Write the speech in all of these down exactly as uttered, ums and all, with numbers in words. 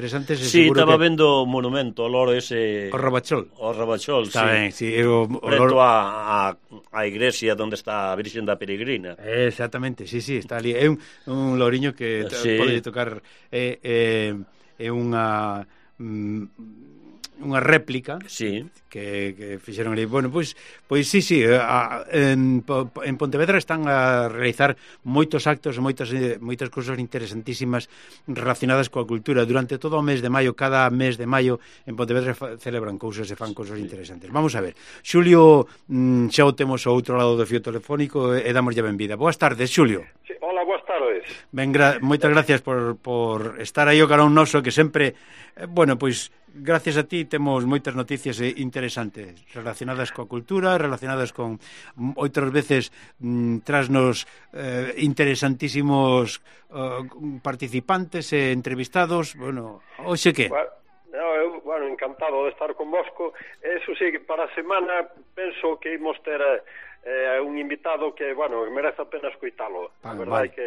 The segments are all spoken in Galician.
interesantes. Sí, estaba que... vendo o monumento, o loro ese... O Rabachol. O Rabachol, está sí. Ben, sí. O, o preto loro... a, a, a iglesia onde está a Virxen da Peregrina. Exactamente, sí, sí, está ali. É un, un loriño que sí. pode tocar... É, é, é unha... unha réplica sí. que, que fixeron ali. Bueno, pois, pois sí, sí, a, en, en Pontevedra están a realizar moitos actos, moitas, moitas cousas interesantísimas relacionadas coa cultura. Durante todo o mes de maio, cada mes de maio, en Pontevedra celebran cousas e fan cousas interesantes. Vamos a ver, Xulio, xa o temos ao outro lado do fío telefónico e damos ya benvida. Boas tardes, Xulio. Sí, hola, boas tardes. Ben, gra moitas gracias por, por estar aí o carón noso, que sempre, eh, bueno, pois gracias a ti temos moitas noticias interesantes relacionadas coa cultura, relacionadas con outras veces mm, trasnos eh, interesantísimos uh, participantes e entrevistados. Bueno, hoxe que? Bueno, no, eu, bueno, encantado de estar convosco. Eso sí, para a semana penso que imos ter eh, un invitado que, bueno, merece a pena escoitalo. A verdade vale. que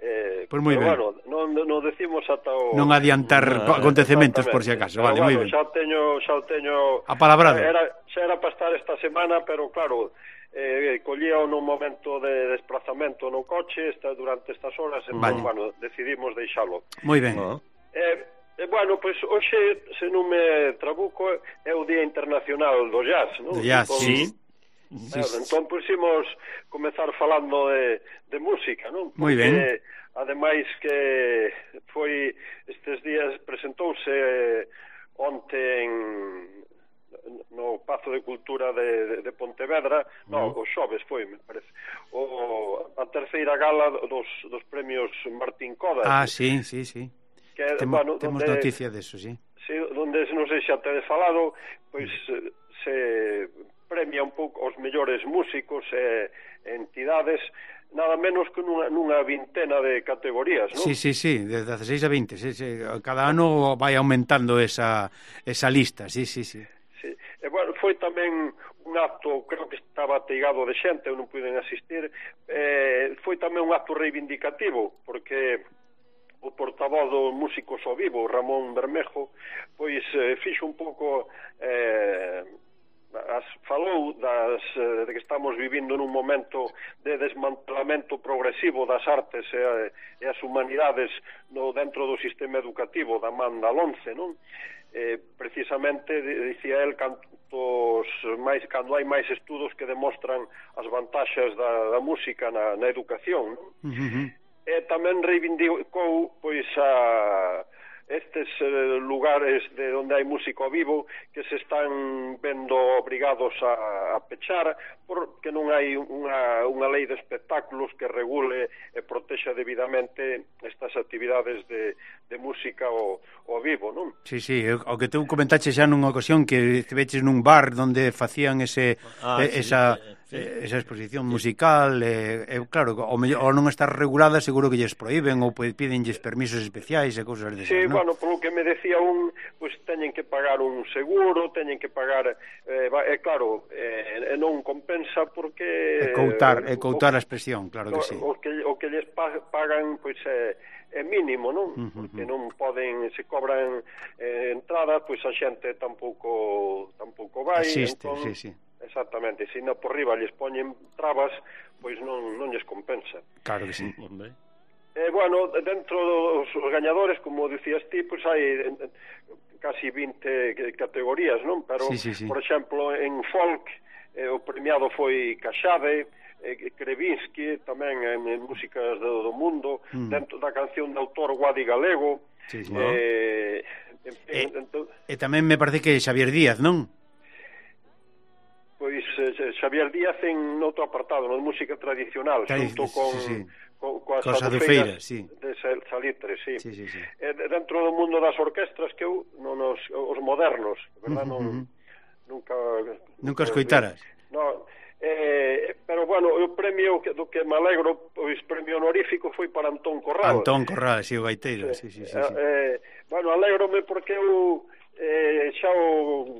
Eh, pois moi ben. Bueno, non, non decimos ata o... Non adiantar no, acontecementos por si acaso, vale, moi bueno, ben. Xa teño, xa teño... Apalabrado. Era, xa era para estar esta semana, pero claro, eh, collía nun momento de desplazamento no coche está, durante estas horas, e vale. Bueno, decidimos deixalo. Moi ben. No. Eh, eh, bueno, pois pues, hoxe, se non me trabuco, é o Día Internacional do Jazz, non? Do jazz, entón, sí. Claro, sí, entón puximos comezar falando de, de música, non? Moi ben. Ademais que foi estes días presentouse onte en no Pazo de Cultura de, de, de Pontevedra, uh -huh. no, o xoves foi, me parece, o, a terceira gala dos, dos premios Martín Codas. Ah, sí, sí, sí. Que, Temo, bueno, temos donde, noticia deso, sí. Sí, donde non sei xa tedes falado, pois uh -huh. se premia un pouco os mellores músicos e entidades, nada menos que nunha, nunha vintena de categorías, non? Sí, sí, sí, de dezaseis a vinte, sí, sí. Cada ano vai aumentando esa, esa lista, sí, sí, sí. Sí. E, bueno, foi tamén un acto, creo que estaba ateigado de xente, eu non puiden asistir, eh, foi tamén un acto reivindicativo, porque o portavoz do Músicos ao Vivo, Ramón Bermejo, pois eh, fixo un pouco... Eh, As, falou das, de que estamos vivindo nun momento de desmantelamento progresivo das artes e, e as humanidades no, dentro do sistema educativo da man da LOMCE, non? Eh, precisamente, dicía el, cantos máis, cando hai máis estudos que demostran as vantaxes da, da música na, na educación, non? Uh -huh. E tamén reivindicou, pois, a... estes eh, lugares de onde hai músico vivo que se están vendo obrigados a, a pechar porque non hai unha, unha lei de espectáculos que regule e protexa debidamente estas actividades de, de música ao, ao vivo, non? Sí, sí, o que tú comentaste xa nunha ocasión que estiveches nun bar onde facían ese ah, eh, sí, esa sí. Eh, esa exposición musical e eh, eh, claro, o, mellor, o non estar regulada seguro que lles proíben ou pídenlles permisos especiais e cousas desas, sí, non? Bueno, polo que me decía un, pois pues, teñen que pagar un seguro, teñen que pagar, eh, é eh, claro, eh, non compensa porque... É coutar, é coutar a expresión, claro que sí. O que, o que lles pagan, pois, é, é mínimo, non? Uh -huh. Porque non poden, se cobran eh, entradas, pois a xente tampouco, tampouco vai. Existe, entón, sí, sí. Exactamente, se non por riba lles poñen trabas, pois non, non lles compensa. Claro que sí. Eh, bueno, dentro dos gañadores, como dicías ti, pois hai casi vinte categorías, non? Pero, sí, sí, sí. por exemplo, en folk, eh, o premiado foi Caxade, eh, Krevinsky, tamén en, en músicas do, do mundo, mm. dentro da canción de autor Guadi Galego. Sí, sí. Eh, en, e, en, en, e tamén me parece que Xavier Díaz, non? Pois eh, Xavier Díaz en outro apartado, no de música tradicional, Tradi xunto con... Sí, sí. coas adufeiras sí. de Salitre, sí. Sí, sí, sí. E dentro do mundo das orquestras que eu non os, os modernos, verdad, non uh -huh. nunca nunca escoitaras. No, eh, pero bueno, o premio que, do que me alegro, pois premio honorífico foi para Antón Corral. Antón Corral, si, sí, o gaiteiro, sí, sí, sí, sí, sí. Eh, bueno, alégrome porque eu eh, xa o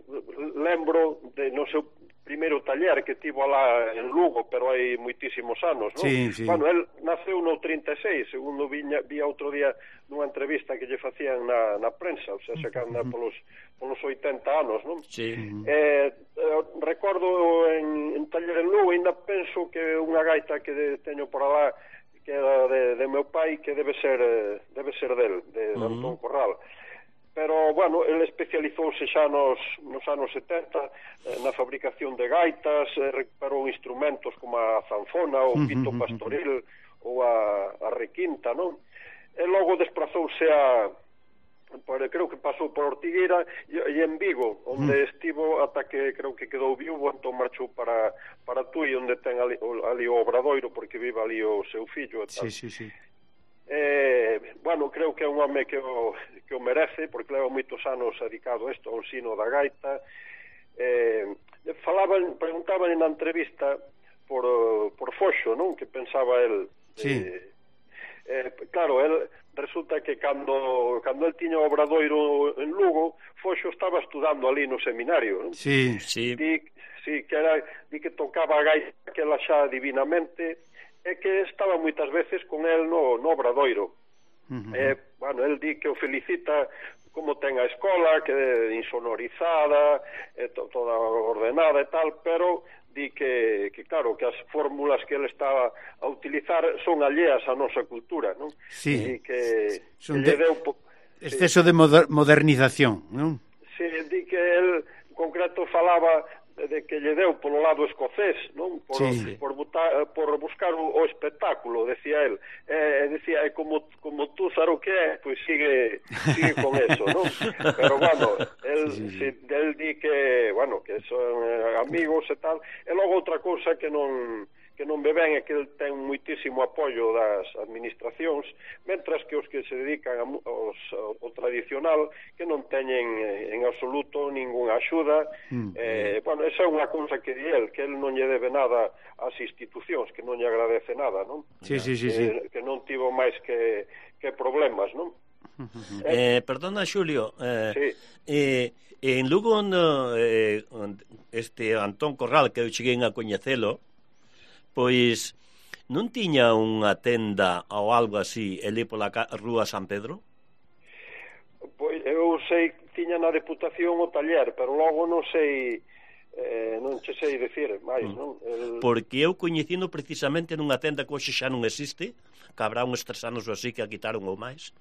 lembro de no seu primeiro taller que tivo alá en Lugo, pero hai moitísimos anos, non? Sí, sí. Bueno, el naceu no trinta e seis, segundo viña, vía outro día nunha entrevista que lle facían na, na prensa, o sea, sacando polos, polos oitenta anos, non? Sí. Eh, eh, recordo en, en taller en Lugo, ainda penso que unha gaita que de, teño por alá, que era de, de meu pai, que debe ser debe ser del, de, de uh-huh. Antón Corral. Pero, bueno, ele especializouse xa nos, nos anos setenta eh, na fabricación de gaitas, eh, recuperou instrumentos como a zanfona, o pito pastoril ou a, a requinta, non? E logo desprazouse a... Por, creo que pasou por Ortigueira e, e en Vigo, onde mm. estivo ata que creo que quedou viúvo, entón marchou para, para Tui, onde ten ali, ali o Obradoiro, porque vive ali o seu fillo e tal. Sí, sí, sí. Eh, bueno, creo que é un home que o, que o merece, porque leva moitos anos dedicado a isto, ao ensino da gaita. Eh, falaban, preguntaban na entrevista por, por Foxo, non? Que pensaba el... Sí. Eh, eh, claro, el resulta que cando cando el tiña o Obradoiro en Lugo, Foxo estaba estudando ali no seminario, non? Sí, sí. Di, sí, que era, di que tocaba a gaita que ela xa divinamente, e que estaba moitas veces con el no, no Obradoiro. Uh-huh. Eh, bueno, el di que o felicita como ten a escola, que é insonorizada, eh, to, toda ordenada e tal, pero di que, que claro, que as fórmulas que ele estaba a utilizar son alleas á nosa cultura, non? Sí. E que, son que de... deu... exceso sí. de moder modernización, non? Sí, di que el, en concreto, falaba de que lle deu polo lado escocés, non? Por, sí. por, butar, por buscar o, o espectáculo, decía el. Eh, decía, é como, como tú sabes o que é, pois sigue, sigue con eso, non? Pero, bueno, el, sí, sí, sí. Si, el di que, bueno, que son eh, amigos e tal. E logo outra cousa que non... que non ve ben é que el ten moitísimo apoio das administracións, mentras que os que se dedican a, aos, ao tradicional que non teñen en absoluto ningunha axuda. Mm. Eh, bueno, esa é unha cousa que di el, que el non lle debe nada ás institucións, que non lle agradece nada, non? Sí, sí, sí, que, sí. que non tivo máis que, que problemas, non? Eh, perdona, Xulio, eh, sí. eh, en Lugo eh, este Antón Corral, que eu cheguei a coñecelo, pois non tiña unha tenda ou algo así elí pola rúa San Pedro? Pois eu sei que tiña na Deputación o taller, pero logo non sei, eh, non che sei dicir máis, mm. non? El... Porque eu coñecino precisamente nunha tenda que hoxe xa non existe, que habrá uns tres anos ou así que a quitaron ou máis,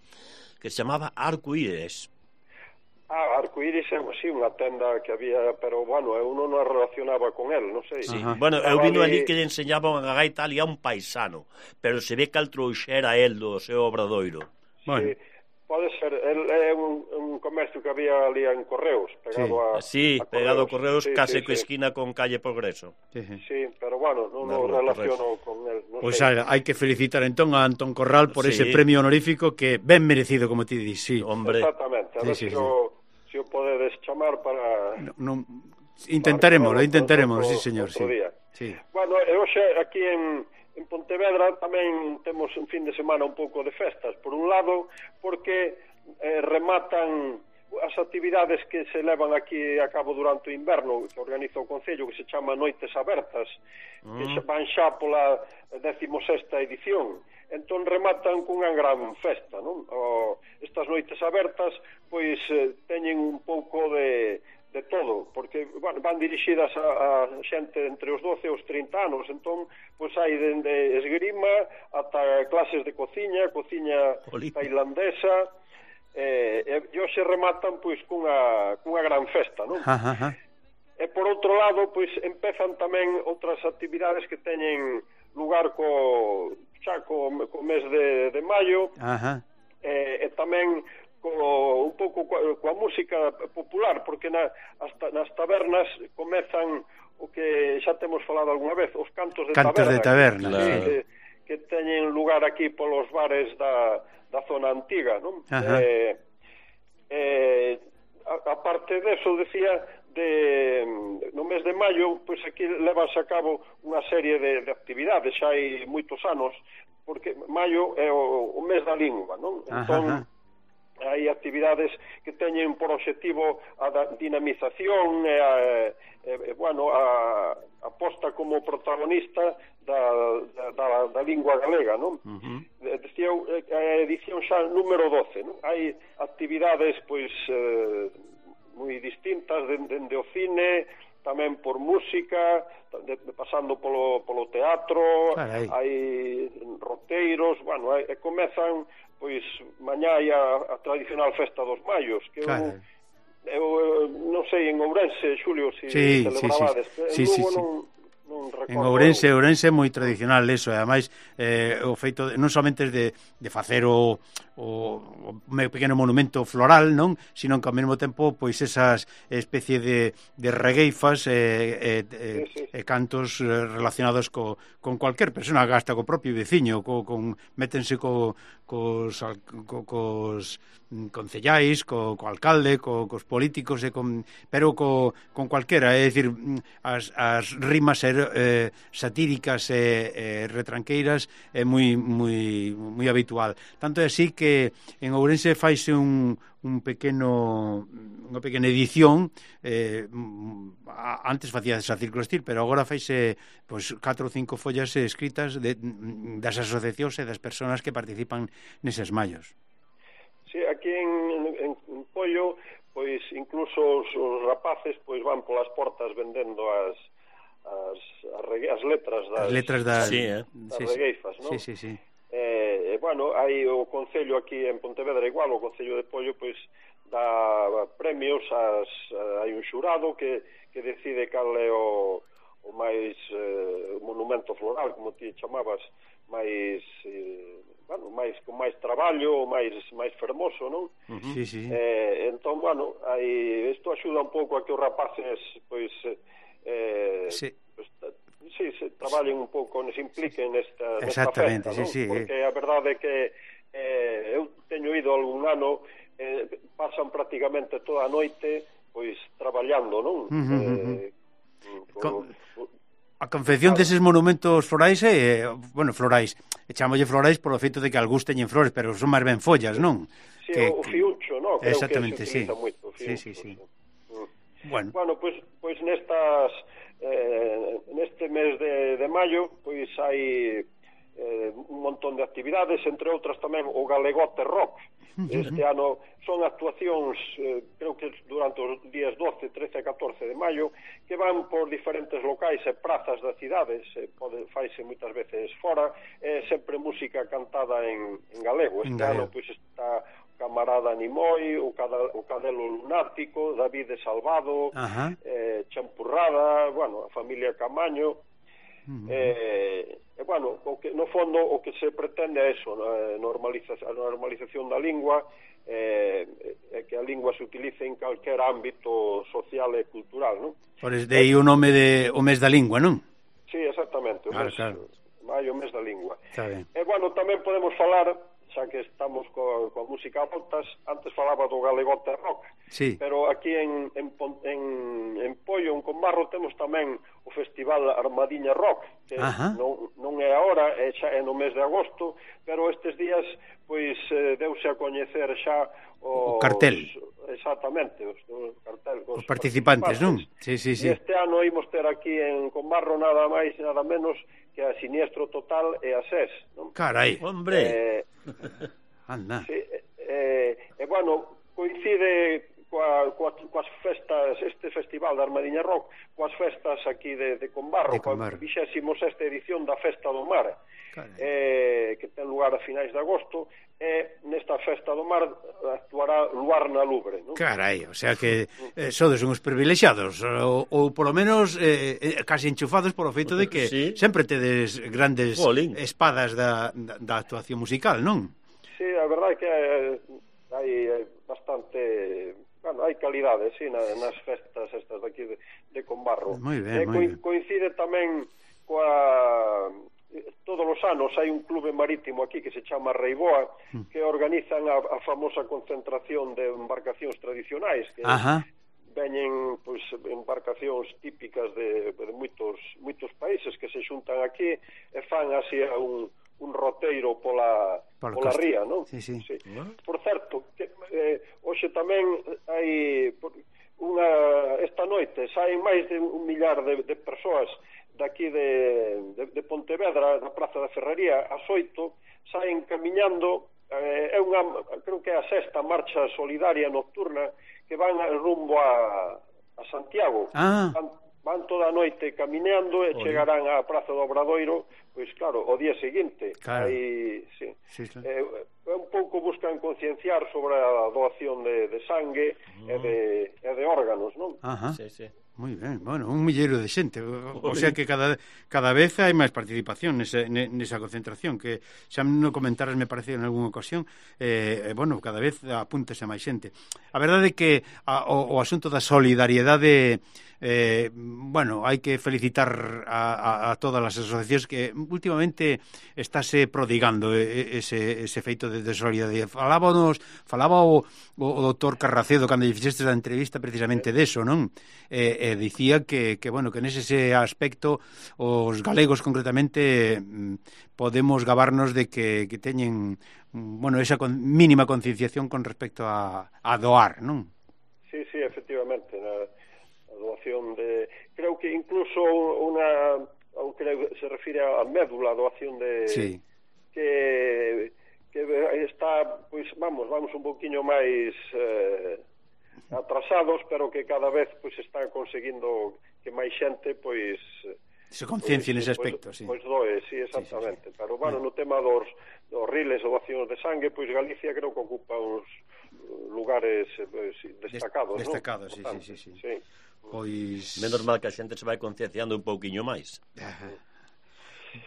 que se chamaba Arcoíris. Ah, Arcoíris é así unha tenda que había, pero bueno, eu non a relacionaba con el, non sei. Sí. Bueno, eu vino ali que lle enseñaba unha gaita ali a un paisano, pero se ve que al trouxera el do seu Obradoiro. Bueno. Sí, pode ser, el é un, un comercio que había ali en Correos, pegado sí. a Sí, a pegado a Correos, sí, case sí, co sí. esquina con calle Progreso. Sí, sí, pero bueno, non o relaciono con el. Non pois sei. Pues hai que felicitar entón a Antón Corral por sí. ese premio honorífico que ben merecido, como ti dis, sí. Hombre. Exactamente, a ver sí, sí, si sí. o se o podedes chamar para... No, no, intentaremos, para intentaremos, sí, señor. Outro sí. día. Sí. Bueno, e hoxe aquí en, en Pontevedra tamén temos un fin de semana un pouco de festas. Por un lado, porque eh, rematan as actividades que se levan aquí a cabo durante o inverno, que organiza o Concello, que se chama Noites Abertas, mm. que van xa pola decimosexta edición. Entón rematan cunha gran festa, non? O, estas noites abertas, pois, eh, teñen un pouco de, de todo, porque bueno, van dirixidas a, a xente entre os doce e os trinta anos, entón, pois hai dende esgrima ata clases de cociña, cociña Olímpica. Tailandesa, eh, e hoxe rematan, pois, cunha, cunha gran festa, non? Ja, ja, ja. E por outro lado, pois, empezan tamén outras actividades que teñen lugar co... xa co, co mes de, de maio. Ajá. E, e tamén co, un pouco coa, coa música popular, porque na, as, nas tabernas comezan o que xa temos falado algunha vez, os cantos de cantos taberna, de taberna que, sí. que, que teñen lugar aquí polos bares da, da zona antiga, non? Eh, eh, a, a parte deso, decía, de, no mes de maio, pois aquí levase a cabo unha serie de, de actividades, xa hai moitos anos, porque maio é o, o mes da lingua, non? Entón, hai actividades que teñen por objetivo a dinamización e a, e, bueno, a, a posta como protagonista da, da, da lingua galega, non? Uh-huh. Decía, a edición xa número doce, non? Hai actividades, pois, eh, moi distintas, dende de, de o cine, tamén por música, de, de, pasando polo, polo teatro, Carai. Hai roteiros, bueno, hai, e comezan, pois, mañá hai a, a tradicional festa dos Maios, que eu, eu, non sei, en Ourense, Xulio, se si sí, celebrabades, sí, sí. en sí, Lugo sí, sí. non... En Ourense, Ourense é moi tradicional eso, e ademais eh, o feito de, non somente de, de facer o, o, o pequeno monumento floral, non, sino que ao mesmo tempo pois esas especie de, de regueifas e eh, eh, sí, sí. eh, cantos relacionados co, con cualquier persona, hasta co propio veciño, co, con métense co, cos, co, cos concellais, co, co alcalde, co, cos políticos, e con, pero co, con cualquera, é dicir, as, as rimas er, eh, satíricas e eh, retranqueiras é moi, moi, moi habitual. Tanto é así que en Ourense faise un, un pequeno unha pequena edición, eh, antes facía esa Círculo Estil, pero agora faise pois, catro ou cinco follas escritas de, das asociacións e das persoas que participan neses mallos. Sí, aquí en, en, en Pollo, pois incluso os, os rapaces pois van polas portas vendendo as as, as, regue, as letras das, as letras das, sí, eh? das sí, regueifas, non? Sí, sí, sí. Eh, bueno, hai o Concello aquí en Pontevedra igual, o Concello de Pollo pois dá premios, as, hai un xurado que, que decide cal é o, o máis eh, monumento floral, como ti chamabas, máis eh, bueno, máis con máis traballo, máis máis fermoso, non? Uh-huh. Sí, sí. Eh, entón, bueno, aí isto axuda un pouco a que os rapaces pois eh sí. Pues, sí, se traballen un pouco, se impliquen nesta, nesta exactamente, festa, sí, sí, porque eh. a verdade é que eh, eu teño ido algún ano, eh, pasan prácticamente toda a noite pois traballando, non? Uh-huh, eh, uh-huh. Con... A confección deses monumentos florais é, eh, bueno, florais, e chamolle florais polo feito de que algúns teñen flores, pero son máis ben follas, non? Sí, que, o fiuncho, non? Creo exactamente, que se utiliza sí. moito, o fiuncho. Sí, sí, sí. Mm. Bueno, bueno, pois pues, pues nestas eh, neste mes de, de maio, pois hai eh, un montón de actividades, entre outras tamén o Galegote Rock. Este ano son actuacións, eh, creo que durante os días doce, trece e catorce de maio, que van por diferentes locais e prazas da cidade, se pode, faise moitas veces fora, é sempre música cantada en, en galego. Este ano pois está o Camarada Nimoy, o, Cada, o Cadelo Lunático, David de Salvado, eh, Champurrada, bueno, a familia Camaño. Uh-huh. eh, e bueno, o que, no fondo o que se pretende é eso, a normalización, a normalización da lingua, eh, é que a lingua se utilice en calquer ámbito social e cultural, non? Por eso de aí o nome de o mes da lingua, non? Sí, exactamente, o claro, mes, claro. maio, o mes da lingua. Está ben. E bueno, tamén podemos falar, xa que estamos coa, coa música a voltas, antes falaba do Galegote Rock, sí. Pero aquí en, en, en, en Pollo, en Combarro, temos tamén o Festival Armadiña Rock, que non, non é agora, é xa é no mes de agosto, pero estes días pois eh, deuse a coñecer xa os, o cartel. Exactamente, os, os cartel, os, os participantes, non? Sí, sí, sí. E este ano imos ter aquí en Combarro nada máis nada menos que a Siniestro Total e a S E S, non? Carai, hombre. Eh, anda. Sí, eh, e bueno, coincide coa, coa, coas festas, este festival da Armadiña Rock, coas festas aquí de, de Combarro, de Combarro. Coa vixésimo sexta edición da Festa do Mar, eh, que ten lugar a finais de agosto, e nesta Festa do Mar actuará Luar na Lubre, non? Carai, o sea que eh, sodes uns privilexiados, ou, ou polo menos eh, casi enchufados polo feito de que sí. Sempre tedes grandes Bolín. espadas da, da, da actuación musical, non? Sí, a verdade é que hai bastante... Bueno, hai calidade, sí, nas festas estas daqui de, de Combarro. Moi ben, eh, moi ben. Coincide tamén coa... Todos os anos hai un clube marítimo aquí que se chama Reiboa, que organizan a, a famosa concentración de embarcacións tradicionais, que Ajá. veñen pois, embarcacións típicas de, de moitos, moitos países que se xuntan aquí e fan así un, un roteiro pola, Por pola ría, non? Sí, sí. Sí. ¿No? Por certo, que, eh, hoxe tamén hai unha, esta noite saen máis de un millar de, de persoas daqui de, de, de Pontevedra, na Praza da Ferrería, ás oito, saen camiñando, eh, é unha, creo que é a sexta marcha solidaria nocturna, que van rumbo a, a Santiago. Ah. Van, van toda a noite camineando e Oye. chegarán á Praza do Obradoiro, pois claro, o día seguinte. Claro. Aí, sí. Sí, claro. Eh, un pouco buscan concienciar sobre a doación de, de sangue mm. e, de, e de órganos, non? Ajá. Sí, sí. Moi ben, bueno, un milleiro de xente, o, o sea que cada cada vez hai máis participación nese, nesa concentración, que xa non comentaras, me parece, en algunha ocasión, eh, bueno, cada vez apúntase máis xente. A verdade é que a, o, o asunto da solidariedade, eh, bueno, hai que felicitar a, a, a todas as asociacións que últimamente estáse prodigando ese, ese feito de, de solidariedade. Falábanos, falaba o, o, o doutor Carracedo cando lle fixestes a entrevista precisamente deso, non? Eh, e dicía que, que, bueno, que nese aspecto os galegos concretamente podemos gabarnos de que, que teñen, bueno, esa con, mínima concienciación con respecto a, a doar, non? Sí, sí, efectivamente, na, a doación de... Creo que incluso unha, aunque se refire a médula, a doación de... Sí. Que, que está, pois, vamos, vamos un poquinho máis... Eh, atrasados, pero que cada vez pois está conseguindo que máis xente pois se conciencia pois, nese aspecto, pois, sí. Pois doe, sí, exactamente. Sí, sí, sí. Pero bueno, no tema dos, dos riles ou doacións de sangue, pois Galicia creo que ocupa uns lugares pois, destacados, destacados, ¿no? sí, sí, sí, sí. Sí. Pois menos mal que a xente se vai concienciando un pouquiño máis. Ajá.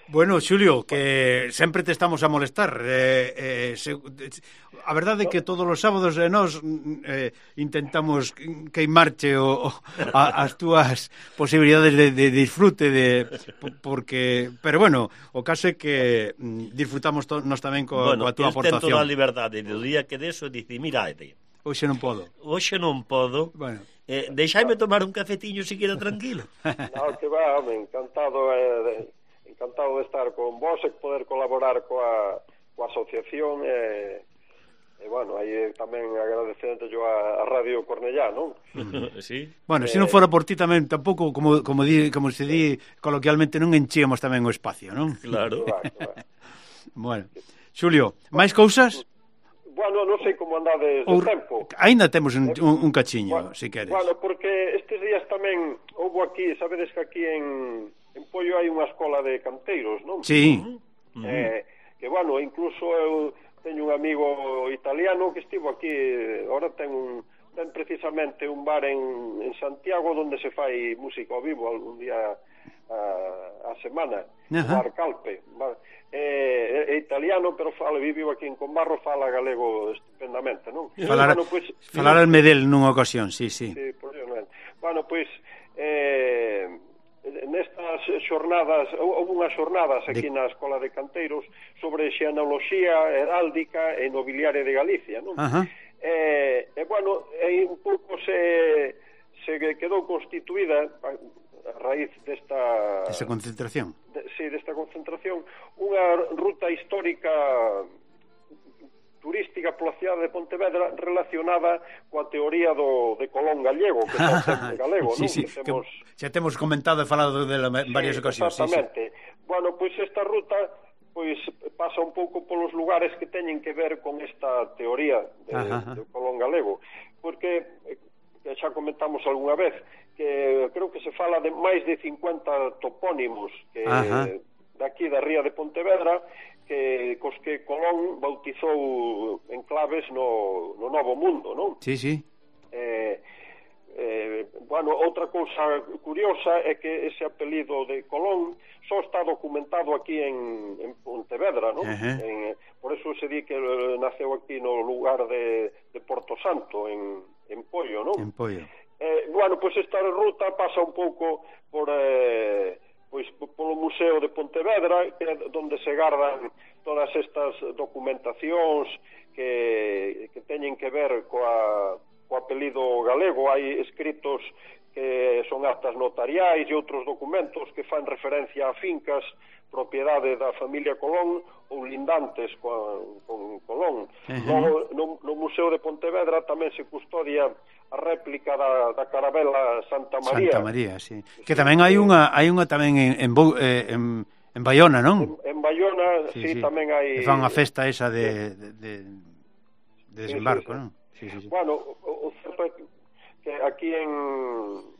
Bueno, Xulio, que sempre te estamos a molestar. Eh, eh, se, a verdade é que todos os sábados eh, nós eh, intentamos queimarche o, o, a, as túas posibilidades de, de disfrute de, porque, pero bueno, o caso é que disfrutamos to, nós tamén co, bueno, coa túa aportación. Bueno, eu tento a liberdade do día que deso dice, mira, hoxe non podo. Hoxe non podo. Bueno. Eh, deixaime tomar un cafetiño se queda tranquilo. No, que va, home, encantado eh, de... encantado de estar con vos e poder colaborar coa, coa asociación e, e bueno, aí tamén agradecente yo a, a Radio Cornellá, non? Sí. Bueno, se eh, non fora por ti tamén tampouco, como, como, di, como se di coloquialmente, non enchíamos tamén o espacio, non? Claro. Que va, que va. Bueno, Xulio, máis cousas? Bueno, non sei como andades de Ou, tempo. Ainda temos un, un, un cachiño, bueno, se queres. Bueno, porque estes días tamén houve aquí, sabedes que aquí en, en Pollo hai unha escola de canteiros, non? Sí. Uh-huh. Eh, que, bueno, incluso eu teño un amigo italiano que estivo aquí, ahora ten un ten precisamente un bar en, en Santiago onde se fai música ao vivo algún día a, a semana, o bar Calpe. Bar, é, é italiano, pero fala, viviu aquí en Combarro, fala galego estupendamente, non? Falar, bueno, pues, falar al Medel nunha ocasión, sí, sí. Sí, por exemplo. Bueno, pois, pues, eh, nestas xornadas, houve unhas xornadas aquí de... na Escola de Canteiros sobre xenoloxía heráldica e nobiliaria de Galicia, non? Ajá. E, e bueno, e un pouco se, se quedou constituída a raíz desta... Desta concentración. De, sí, desta concentración, unha ruta histórica turística pola cidade de Pontevedra relacionada coa teoría do, de Colón gallego, que está en galego, sí, non? Sí, que temos... que xa temos comentado e falado dela en varias sí, ocasións. Exactamente. Sí, sí. Bueno, pois esta ruta pois pasa un pouco polos lugares que teñen que ver con esta teoría de, de Colón galego, porque que xa comentamos algunha vez que creo que se fala de máis de cincuenta topónimos que Ajá. daqui da ría de Pontevedra que cos que Colón bautizou enclaves no, no Novo Mundo, non? Sí, sí. Eh, eh, bueno, outra cousa curiosa é que ese apelido de Colón só está documentado aquí en, en Pontevedra, non? Uh-huh. En, por eso se di que naceu aquí no lugar de, de Porto Santo, en, en Pollo, non? En Pollo. Eh, bueno, pois esta ruta pasa un pouco por... Eh, pois polo Museo de Pontevedra, que é onde se gardan todas estas documentacións que, que teñen que ver coa, coa apelido galego. Hai escritos que son actas notariais e outros documentos que fan referencia a fincas propiedade da familia Colón ou lindantes con, con Colón. Uh-huh. Logo, no, no Museo de Pontevedra tamén se custodia a réplica da, da carabela Santa María. Santa María, sí. Que tamén hai unha hai unha tamén en en, en, en Baiona, non? En, en Baiona, sí, sí, sí, tamén hai... Que fan a festa esa de, de, de, de desembarco, sí, sí, sí. Non? Sí, sí, sí. Bueno, o, o certo é que aquí en...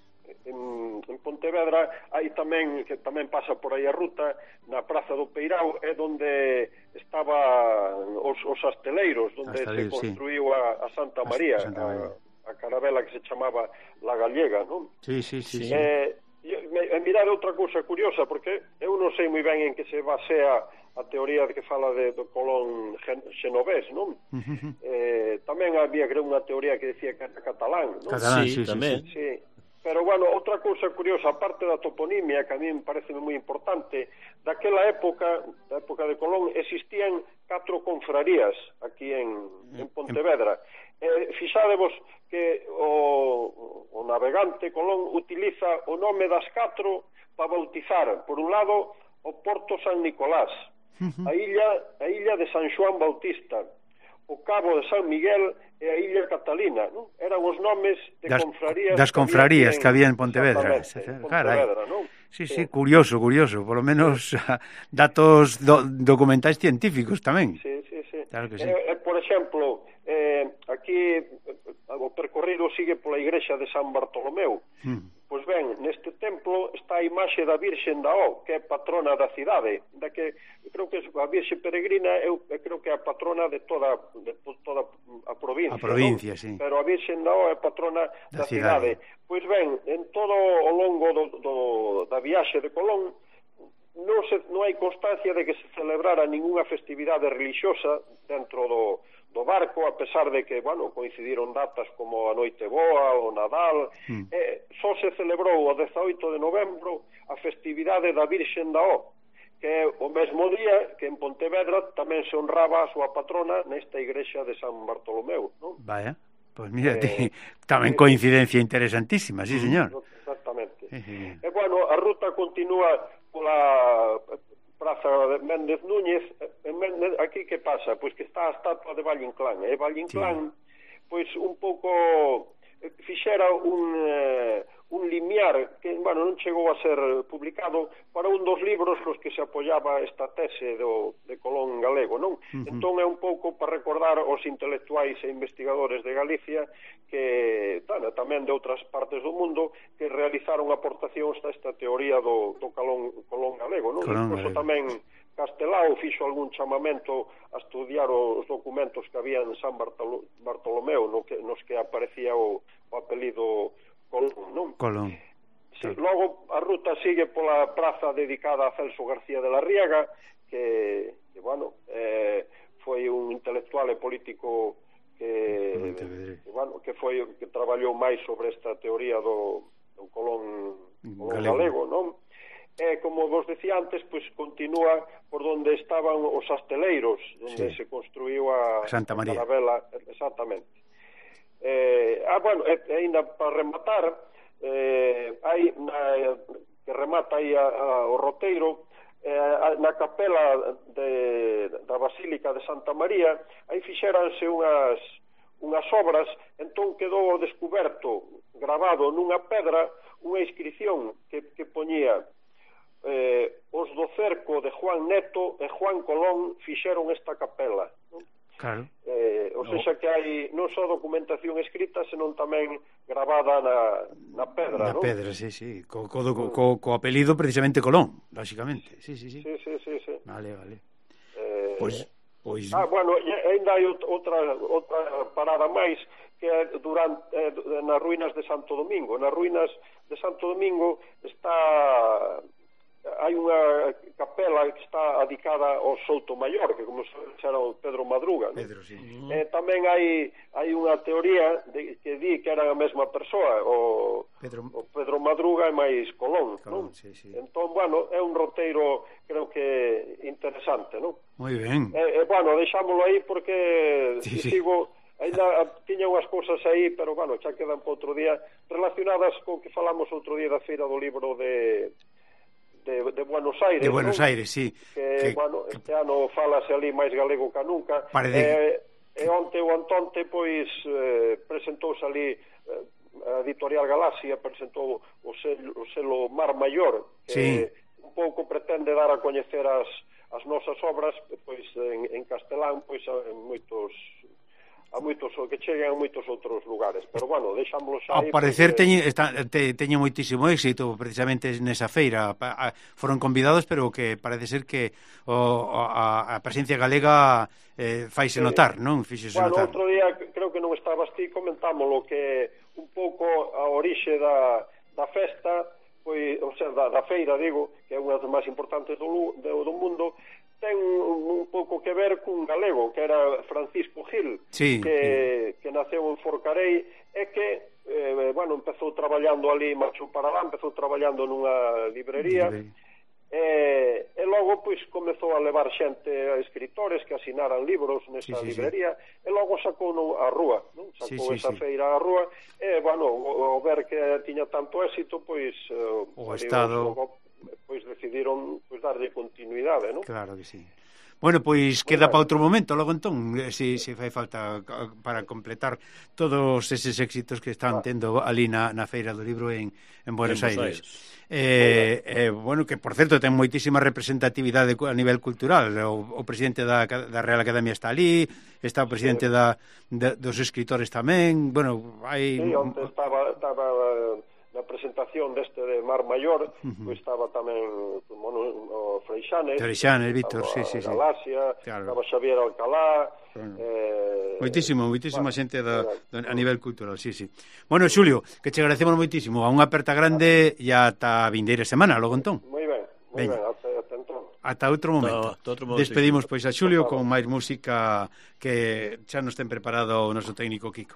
En, en Pontevedra hai tamén, que tamén pasa por aí a ruta, na Praza do Peirao é onde estaban os, os asteleiros, onde se construiu sí. a, a Santa María, a, Santa María. A, a carabela que se chamaba La Gallega, non? Sí, sí, sí. Eh, me, me mirade outra cousa curiosa, porque eu non sei moi ben en que se basea a teoría de que fala de, do Colón xenovés, non? Uh-huh. Eh, tamén había, creo, unha teoría que decía que era catalán, non? Catalán, sí, sí, tamén. Sí, sí. Pero, bueno, outra cousa curiosa, aparte da toponimia, que a mí me parece moi importante, daquela época, da época de Colón, existían catro confrarías aquí en, en Pontevedra. Eh, fixádevos que o, o navegante Colón utiliza o nome das catro para bautizar, por un lado, o Porto San Nicolás, a illa, a illa de San Xoán Bautista, o Cabo de San Miguel e a Illa Catalina, non? Eran os nomes de das, confrarías das confrarías que había en Pontevedra. En Pontevedra, non? Sí, sí, sí, curioso, curioso, por lo menos datos do, documentais científicos tamén. Sí, sí, sí. Claro que sí. Eh, por exemplo, eh, aquí o percorrido sigue pola igrexa de San Bartolomeu. Hmm. Pois ben, neste templo está a imaxe da Virxen da O, que é patrona da cidade, da que creo que a Virxe Peregrina eu, eu creo que é a patrona de toda de toda a provincia, a provincia, ¿no? Sí. Pero a Virxen da O é patrona da, da cidade. Pois ben, en todo o longo do, do, da viaxe de Colón non, se, non hai constancia de que se celebrara ningunha festividade religiosa dentro do do barco, a pesar de que, bueno, coincidiron datas como a Noite Boa, o Nadal, mm. eh, só se celebrou o dezaoito de novembro a festividade da Virxen da O, que é o mesmo día que en Pontevedra tamén se honraba a súa patrona nesta igrexa de San Bartolomeu, non? Vaya, pois pues mírate, eh, tamén eh, coincidencia interesantísima, sí, señor. Exactamente. Eh, eh. E, bueno, a ruta continúa pola Praza de Méndez Núñez. En Méndez, aquí que pasa? Pois que está a estatua de Valle Inclán, e Valle Inclán, sí. Pois un pouco fixera un, eh, un limiar que, bueno, non chegou a ser publicado para un dos libros nos que se apoiaba esta tese do, de Colón galego, non? Uh-huh. Entón é un pouco para recordar aos intelectuais e investigadores de Galicia que, bueno, tamén de outras partes do mundo, que realizaron aportacións a esta teoría do, do Colón, Colón galego, non? Incluso tamén Castelao fixo algún chamamento a estudiar os documentos que había en San Bartolo, Bartolomeu, no que, nos que aparecía o, o apelido Colón, non? Colón. Sí, logo a ruta sigue pola praza dedicada a Celso García de la Riaga, que, que bueno, eh, foi un intelectual e político que, que, bueno, que foi que traballou máis sobre esta teoría do, do Colón, Colón galego, galego non? E, como vos decía antes, pois continúa por onde estaban os asteleiros, onde sí. se construiu a Santa María. Carabela, exactamente. Eh, ah, bueno, e, ainda para rematar, eh, hai na, que remata aí a, a, o roteiro, eh, na capela de, da Basílica de Santa María, aí fixéranse unhas, unhas obras, entón quedou descuberto, gravado nunha pedra, unha inscripción que, que poñía Eh, os do cerco de Juan Neto e Juan Colón fixeron esta capela, non? Claro. Eh, ou seja que hai non só documentación escrita, senón tamén gravada na, na pedra, na non? Na pedra, sí, sí, co, co, co, co, co apelido precisamente Colón, lógicamente. Sí, sí, sí. Sí, sí, sí, sí. Vale, vale. Eh, pois pois Ah, bueno, ainda hai outra outra parada máis que é durante eh, nas ruínas de Santo Domingo. Nas ruínas de Santo Domingo está hai unha capela que está dedicada ao Souto Maior, que como se era o Pedro Madruga, ¿no? Pedro, sí. Uh-huh. Eh, tamén hai hai unha teoría de, que di que era a mesma persoa, o Pedro, o Pedro Madruga e máis Colón, Colón, ¿no? Sí, sí. Entón, bueno, é un roteiro creo que interesante, ¿no? Moi ben. Eh, eh, bueno, deixámoslo aí porque sí, sí. sigo ainda tiña unhas cousas aí, pero, bueno, xa quedan para outro día, relacionadas co que falamos outro día da Feira do Libro de... De, de Buenos Aires, de Buenos ¿no? Aires, sí, que, que bueno, este que... ano falase ali máis galego que nunca. Parece... Eh, e onte ou antonte, pois, eh, presentouse ali eh, a editorial Galaxia, presentou o selo, o selo Mar Maior, que sí. un pouco pretende dar a coñecer as, as nosas obras, pois, en, en castelán, pois, en moitos... a moitos que cheguen a moitos outros lugares, pero bueno, deixámoslo xa aí. Ao parecer porque... teñe, está, te, teñe moitísimo éxito precisamente nesa feira. A, a, foron convidados, pero que parece ser que o, a, a presencia galega eh, faise sí. notar, non? Fíxese bueno, notar. Outro día, creo que non estabas ti, comentámoslo que un pouco a orixe da, da festa, pois, o sea, da, da feira, digo, que é unha das máis importantes do, do, do mundo, ten un, un pouco que ver cun galego, que era Francisco Gil, sí, que, sí. que naceu en Forcarei, e que, eh, bueno, empezou traballando ali, marchou para lá, empezou traballando nunha librería, sí. e, e logo, pois, comezou a levar xente a escritores que asinaran libros nesa sí, sí, librería, sí. e logo sacou no, a rúa, non? Sacou sí, sí, esa sí. feira a rúa, e, bueno, o, o ver que tiña tanto éxito, pois... O Estado... Logo, pois decidiron pois darlle continuidade, non? Claro que sí. Bueno, pois queda para outro momento, logo entón, se, se fai falta para completar todos eses éxitos que están tendo ali na, na Feira do Libro en, en Buenos en Aires. Aires. Eh, eh, bueno, que por certo ten moitísima representatividade a nivel cultural. O, o presidente da, da Real Academia está ali, está o presidente sí. da, da, dos escritores tamén. Bueno, hai... Sí, onde estaba... estaba na presentación deste de Mar Maior, uh-huh. pois estaba tamén bueno, o Freixanes, Freixanes, Víctor, sí, sí, sí. Galaxia, claro. Estaba Xavier Alcalá, bueno. eh, moitísimo, moitísima bueno, xente da, da, a nivel cultural, sí, sí. Bueno, Xulio, que che agradecemos moitísimo, a unha aperta grande e ata a vindeira semana, logo entón. Moi ben, moi ben, ata, ata entón. Ata outro momento. Ta, outro momento. Despedimos pois a Xulio con máis música que xa nos ten preparado o noso técnico Kiko.